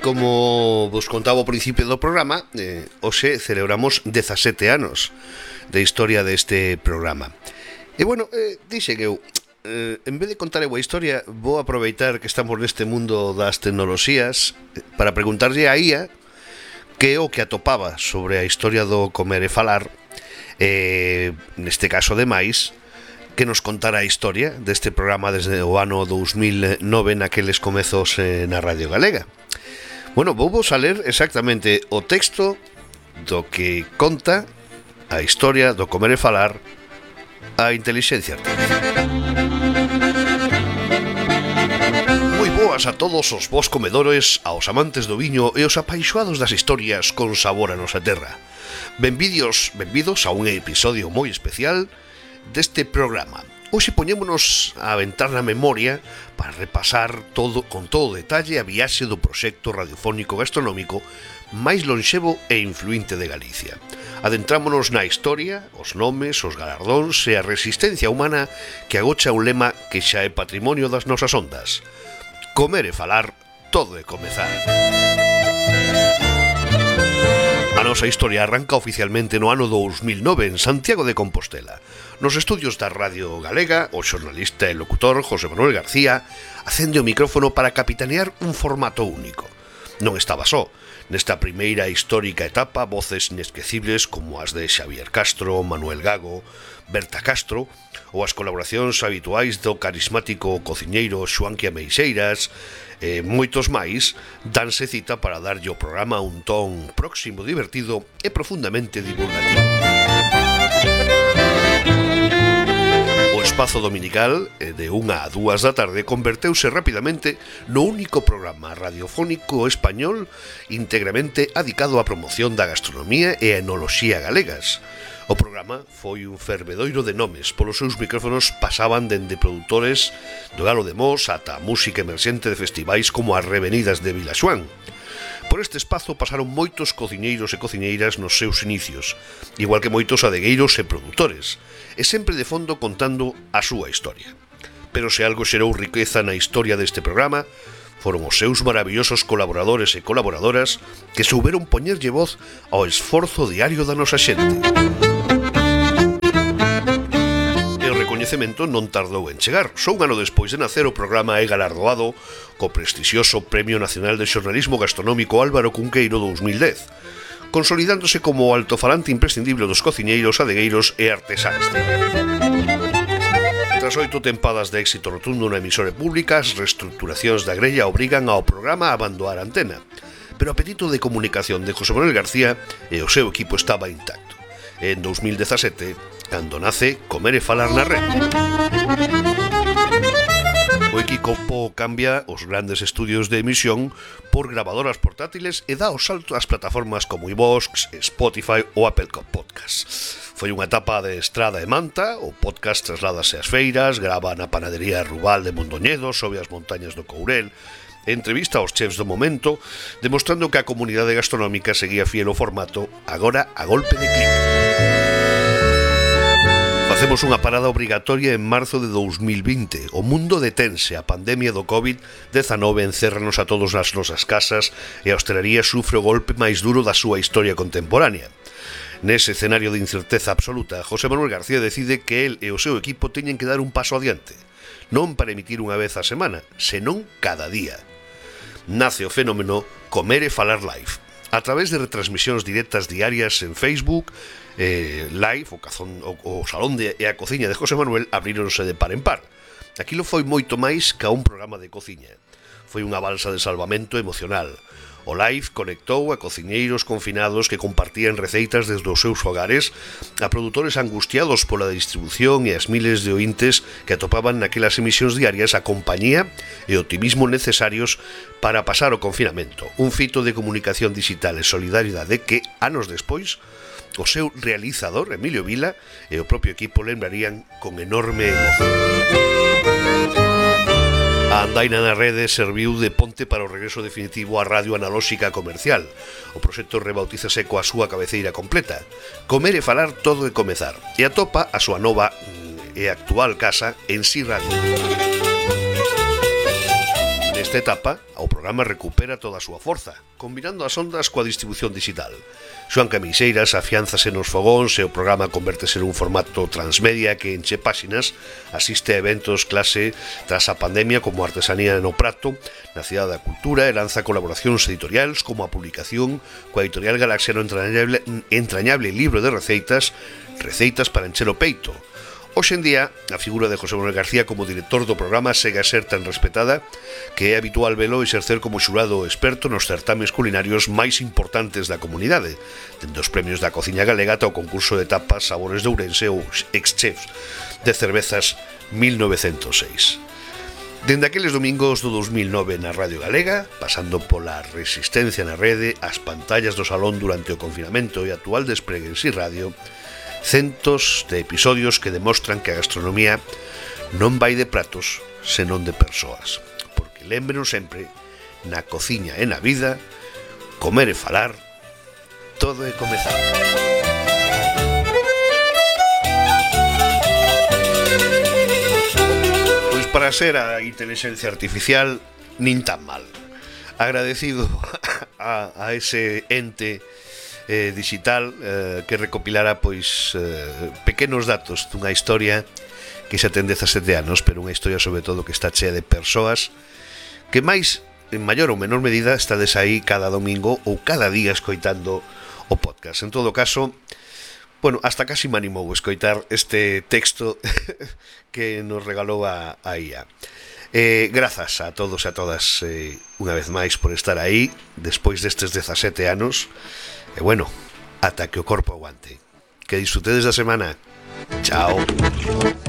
como vos contaba ao principio do programa, hoxe celebramos 17 anos de historia deste programa. E bueno, dixen eu, en vez de contar a historia, vou aproveitar que estamos neste mundo das tecnoloxías para preguntarlle a IA que é o que atopaba sobre a historia do comer e falar, neste caso ademais, que nos contara a historia deste programa desde o ano 2009 naqueles comezos na Radio Galega. Bueno, vou a ler exactamente o texto do que conta a historia do comer e falar a inteligencia artificial. Moi boas a todos os vos comedores, aos amantes do viño e os apaixoados das historias con sabor a nosa terra. Benvidos a un episodio moi especial deste programa. Hoxe poñémonos a aventar na memoria para repasar con todo detalle a viaxe do proxecto radiofónico gastronómico máis lonxevo e influinte de Galicia. Adentrámonos na historia, os nomes, os galardóns e a resistencia humana que agocha un lema que xa é patrimonio das nosas ondas. Comer e falar, todo é comezar. A nosa historia arranca oficialmente no ano 2009 en Santiago de Compostela. Nos estudios da Radio Galega, o xornalista e locutor José Manuel García acende o micrófono para capitanear un formato único. Non estaba só. Nesta primeira histórica etapa, voces inesquecibles como as de Xavier Castro, Manuel Gago, Berta Castro, ou as colaboracións habituais do carismático cociñeiro Xoanquia Meixeiras, e moitos máis, danse cita para darlle ao programa un ton próximo, divertido e profundamente divulgativo. O espazo dominical, de 1 a 2 da tarde, converteuse rapidamente no único programa radiofónico español íntegramente adicado á promoción da gastronomía e a enoloxía galegas. O programa foi un fervedoiro de nomes. Polos seus micrófonos pasaban dende produtores do Galo de Mos ata a música emerxente de festivais como as Revenidas de Vilaxoán. Por este espazo pasaron moitos cociñeiros e cociñeiras nos seus inicios, igual que moitos adegueiros e produtores, e sempre de fondo contando a súa historia. Pero se algo xerou riqueza na historia deste programa, foron os seus maravillosos colaboradores e colaboradoras que souberon poñerlle voz ao esforzo diario da nosa xente. E o recoñecemento non tardou en chegar. Só un ano despois de nacer, o programa é galardoado co prestixioso Premio Nacional de Xornalismo Gastronómico Álvaro Cunqueiro 2010, consolidándose como o altofalante imprescindible dos cociñeiros, adegueiros e artesáns. Tras 8 tempadas de éxito rotundo na emisora pública, as reestructuracións da grella obrigan ao programa a abandonar a antena, pero o apetito de comunicación de José Manuel García e o seu equipo estaba intacto. En 2017, cando nace Comer e falar na rede. O equipo cambia os grandes estudios de emisión por grabadoras portátiles e dá o salto ás plataformas como iVoox, Spotify ou Apple Podcasts. Foi unha etapa de estrada e manta, o podcast trasládase ás feiras, grava na panadería Rubal de Mondoñedo, sobe as montañas do Courel, entrevista aos chefs do momento, demostrando que a comunidade gastronómica seguía fiel ao formato, agora a golpe de clic. Facemos unha parada obrigatoria en marzo de 2020. O mundo detense, a pandemia do COVID-19 encérranos a todos nas nosas casas e a hostelería sufre o golpe máis duro da súa historia contemporánea. Nese escenario de incerteza absoluta, José Manuel García decide que el e o seu equipo teñen que dar un paso adiante, non para emitir unha vez a semana, senón cada día. Nace o fenómeno Comer e falar live, a través de retransmisións directas diarias en Facebook, live, o salón e a cociña de José Manuel abríronse de par en par. Aquilo foi moito máis que un programa de cociña. Foi unha balsa de salvamento emocional. O live conectou a cociñeiros confinados que compartían receitas desde os seus fogares a produtores angustiados pola distribución e as miles de ointes que atopaban naquelas emisións diarias a compañía e o optimismo necesarios para pasar o confinamento. Un fito de comunicación digital e solidaridade que, anos despois, o seu realizador, Emilio Vila, e o propio equipo lembrarían con enorme emoción. A andaina na rede serviu de ponte para o regreso definitivo á radio analóxica comercial. O proxecto rebautízase coa súa cabeceira completa. Comer e falar, todo e comezar. E atopa a súa nova e actual casa en Si Radio. nesta etapa, o programa recupera toda a súa forza, combinando as ondas coa distribución digital. Xoan Camiseiras afiánzase nos fogóns e o programa convértese nun formato transmedia que enche páxinas, asiste a eventos clase tras a pandemia como Artesanía no Prato, na Cidade da Cultura, e lanza colaboracións editoriais como a publicación coa editorial Galaxia no entrañable libro de receitas para encher o peito. Hoxe en día, a figura de José Manuel García como director do programa segue a ser tan respetada que é habitual velo exercer como xurado experto nos certames culinarios máis importantes da comunidade, dende os premios da cociña galega ata o concurso de tapas Sabores de Ourense ou ex-chefs de cervezas 1906. Dende aqueles domingos do 2009 na Radio Galega, pasando pola resistencia na rede, as pantallas do salón durante o confinamento e actual despregue en Si Radio, centos de episodios que demostran que a gastronomía non vai de pratos, senón de persoas. Porque lémbrenos sempre, na cociña e na vida, comer e falar, todo é comezar. Pois para ser a inteligencia artificial, nin tan mal. Agradecido a ese ente digital que recopilara pois pequenos datos dunha historia que xa ten 17 anos, pero unha historia sobre todo que está chea de persoas que máis, en maior ou menor medida, estades aí cada domingo ou cada día escoitando o podcast. En todo caso, bueno, hasta casi me animou a escoitar este texto que nos regalou a IA. Grazas a todos e a todas unha vez máis por estar aí despois destes 17 anos. E bueno, ata que o corpo aguante. Que disfrutedes da semana. Chao.